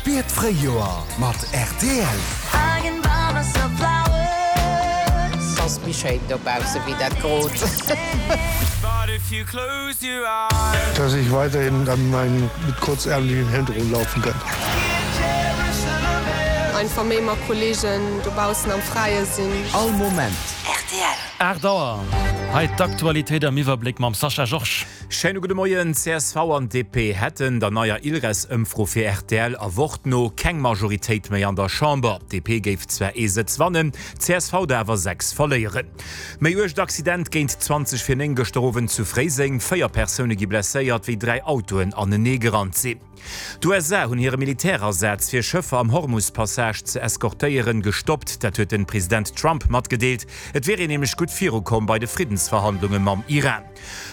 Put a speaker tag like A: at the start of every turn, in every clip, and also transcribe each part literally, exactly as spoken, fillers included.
A: Spiert d'Fréijoer mat rtl.
B: Ass méi schéin dobausse wéi dat grot.
C: Dass ich weiterhin an meinen mit kurzärmlichen Hemd rumlaufen kann.
D: Einfach méi mat Kolleegen dobaussen am Fräie sinn.
A: All Moment.
E: Rtl.
F: Aacht Auer, hei d'Aktualitéit am Iwwerbléck mam Sascha Georges.
G: Schéine gudde Moien, csv an D P hätten der neier Ilres-Ëmfro fir R T L a Wort no keng Majoritéit méi an der Chamber. D P géif zwar ee Sëtz wannen, C S V der awer sechs verléieren. Méi uergt Accident géint zwanzeg vir néng gëschter Owend zu Fréiseng, Véier Persoune gi blesséiert, wéi dräi Autoen anenee gerannt sinn. D'U S A hunn hire Militärasaz fir Schëffer am Hormus-Passage ze eskortéieren gestoppt, dat huet de President Trump matgedeelt. Et wier een nämlech gutt virukomm bei de Friddensverhandlunge mam Iran.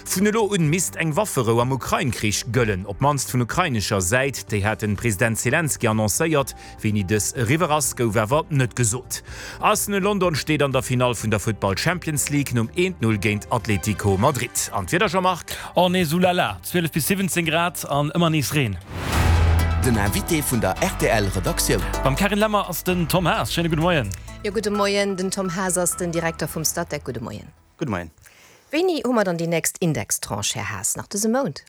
G: Vun elo un misst eng Wafferou am Ukrain-Krich gëllen, op d'mannst vun ukrainescher Säit, déi hat de President Selenskyj annoncéiert. Wéini dës eriwwer ass, gouf awer net gesot. Arsenal London steet an der Finall vun der Futtball Champions League nom eent Null géint Atlético Madrid. An d'Wieder, Jean-Marc?
F: Oh nee, soulala, zwielef bis siwwenzéng Grad an ëmmer nees Reen.
A: Den Invité vun der R T L Redaktioun.
F: Beim Carine Lemmer ass den Tom Haas. Schéine gudde Moien.
E: Jo, gudde Moien. Den Tom Haas ass den Direkter vum Statec. Gudde Moien.
H: Gudde Moien.
E: Wéini hu mer dann déi nächst Indextranche, Här Haas? Nach dëse Mount?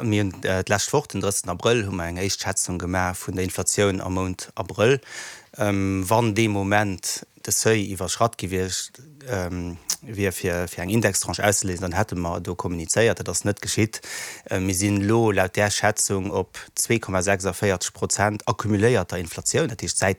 H: Mir hunn d'lescht Woch, den drëssigsten Abrëll, hu mer eng éischt Schätzung gemaach vun der Inflatioun am Mount Abrëll. Wann dee Moment de Seuil iwwerschratt gewiescht wier fir fir eng Indextranche auszeléisen, dann hätte mer do kommunizéiert. Dat ass net geschitt. Mir sinn elo laut där Schätzung op zwee Komma sechsavéierzeg Prozent accumuléierter Inflatioun, dat heescht säit der